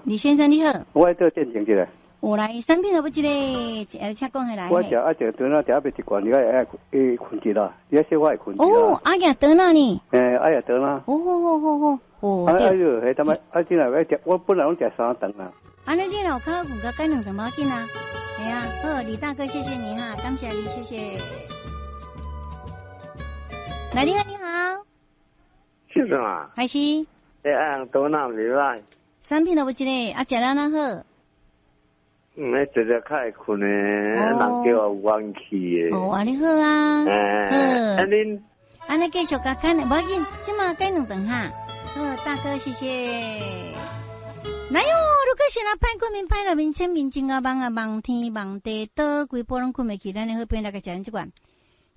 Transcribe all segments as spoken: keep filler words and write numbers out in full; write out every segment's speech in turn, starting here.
李先生你好。我愛做見證一下。有來，產品有無這個，呃，請講起來。我食啊，食頓啊，食欲一罐，你愛愛會睏一啦，你愛小可會睏一哦，阿爺頓啊呢？欸，阿爺頓啊。哦好好好好，哦。啊啊哟，彼淡仔，啊，真係愛食，我本來攏食三頓啊。按呢你若有較好睏，改兩頓無要緊啊。係啊，好，李大哥，謝謝你哈，感謝你，謝謝。來，你好，你好。是啥？還是？欸，阿頓啊，袂歹。產品都無這個，啊，食了哪好？嗯，彼直直較會睏的，人叫我有元氣的。哦，按呢好啊。欸，啊恁。按呢繼續共看，無要緊，這馬改兩頓哈。好，大哥，謝謝。來喲，如果是若歹困眠、歹入眠、淺眠、真𠢕夢啊，夢天夢地，倒規晡攏睏袂去，咱的好朋友來共食咱這罐，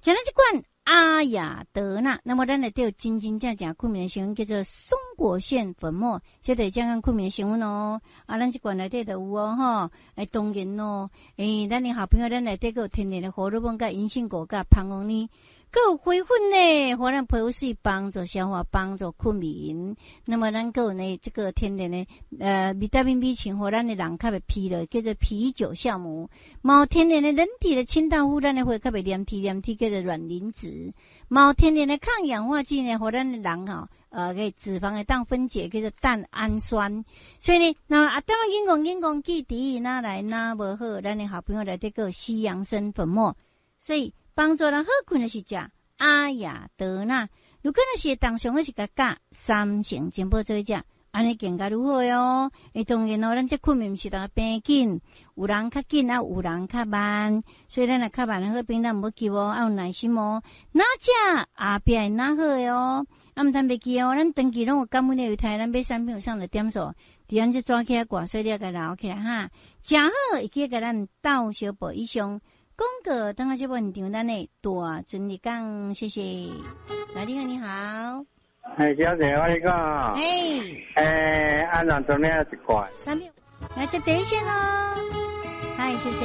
食咱這罐阿雅德娜。那麼咱內底有真真正正睏眠的成分，叫做松果腺粉末，這就是正講睏眠的成分哦。啊，咱這罐內底就有哦，吼，欸，當然咯，欸，咱的好朋友，咱內底閣有天然的荷爾蒙、佮銀杏果、佮蜂王奶。閣有花粉呢，予咱皮膚媠，幫助消化，幫助睏眠。那麼咱閣有呢，這個天然的呃維他命 B 群，予咱的人較袂疲勞，叫做啤酒酵母。嘛有天然的人體的清道夫，咱的血較袂黏體黏體，叫做卵磷脂。嘛有天然的抗氧化劑呢，予咱的人吼，呃，個脂肪會當分解，叫做蛋氨酸。所以呢，那啊，當然講講講記得哪來哪無好，咱的好朋友內底閣有西洋參粉末，所以幫助人好睏的是食阿雅德娜。如果若是當上的是共佮三成全部做伙食，按呢更加愈好喲。欸，當然哦，咱這睏眠毋是逐个平緊，有人較緊啊，有人較慢，所以咱若較慢的好朋友，咱毋好急哦，愛有耐心哦。哪食後壁會哪好的哦。啊，毋通袂記哦，咱長期攏有感恩的猶太，咱買產品有送的點數，佇咱這紙起來掛，所以你愛共留起來哈。誠好，會記共咱鬥相報以上。廣告，等下節目現場，咱的大尊日講，謝謝。來，你好，你好。嘿，小姐，我跟你講。嘿。欸，安怎做呢一罐？三秒，來接第一線囉。嗨，謝謝。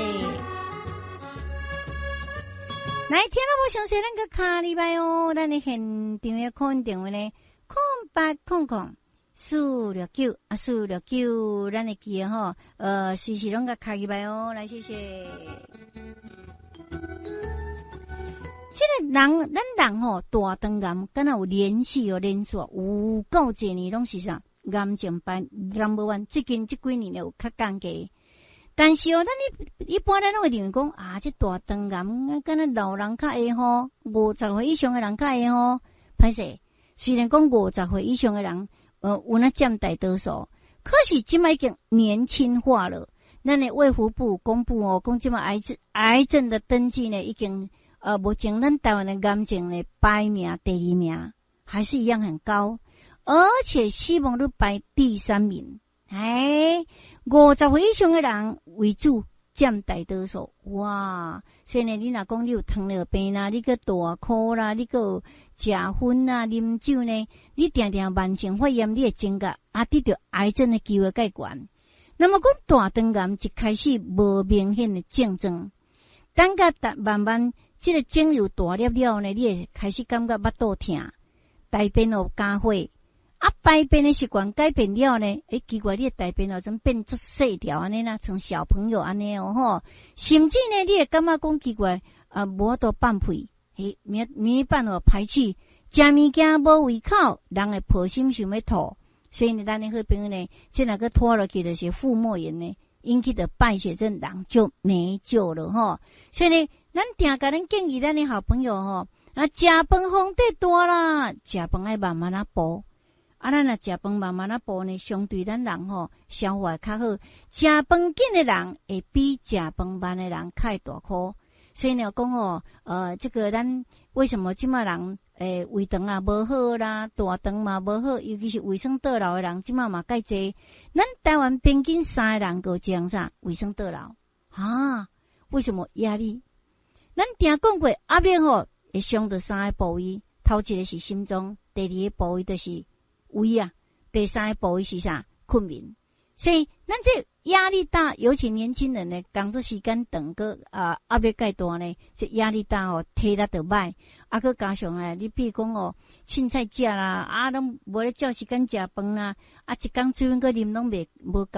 來，聽了無詳細，咱閣敲入來哦。咱的現場的 call in 電話呢，空八空空四六九啊，四六九，咱會記得吼，呃，隨時攏共敲入來哦。來，謝謝。這個人，咱人吼，大腸癌敢若有連續哦，連續有夠濟年攏是啥？癌症排 number one，最近這幾年有較降低。但是哦，咱一一般咱攏會認為講啊，這大腸癌敢若老人較會吼，五十歲以上的人較會吼。歹勢，雖然講五十歲以上的人，呃，有那佔大多數，可是這擺已經年輕化了。咱的衛福部公布哦，講這擺癌症癌症的登記呢，已經呃，目前咱台灣的癌症呢排名第二名，還是一樣很高，而且死亡率排第三名。哎，五十歲以上的人為主，佔大多數。哇！所以呢，你若講你有糖尿病啦，你閣大箍啦，你閣有食薰啦、啉酒呢，你定定慢性發炎，你會增加啊得著癌症的機會較懸。那麼講大腸癌一開始無明顯的症狀，等甲慢慢這個腫瘤大粒了呢，你會開始感覺腹肚疼，大便有加血。啊，排便的習慣改變了呢，欸，奇怪，你的大便哦，怎變足細條按呢啦，像小朋友按呢哦吼，甚至呢，你會感覺講奇怪，啊，無法度放屁，嘿，沒沒辦法排氣，食物件無胃口，人會抱心想欲吐，所以呢，咱的好朋友呢，這若閣拖落去就是腹膜炎呢，引起的敗血症，人就沒救了吼。所以呢，咱定共恁建議咱的好朋友吼，啊，食飯風底大啦，食飯愛慢慢仔補。啊，咱若食飯慢慢仔補呢，相對咱人吼消化較好。食飯緊的人會比食飯慢的人較會大箍。所以呢，講吼，呃，這個咱為什麼這擺人欸胃腸啊無好啦，大腸嘛無好，尤其是胃酸倒流的人，這擺嘛蓋濟。咱台灣平均三個人就一人啥胃酸倒流啊？為什麼壓力？咱定講過壓力吼會傷著三個部位，頭一個是心臟，第二個部位就是胃啊，第三個部位是啥？睏眠。所以咱咱這壓力大，尤其年輕人呢，工作時間長，閣啊壓力蓋大呢，這壓力大哦，體力就歹。啊，閣加上咧，你比如講哦，凊彩食啦，啊，攏無咧照時間食飯啦，啊，一工水分閣啉攏袂無夠。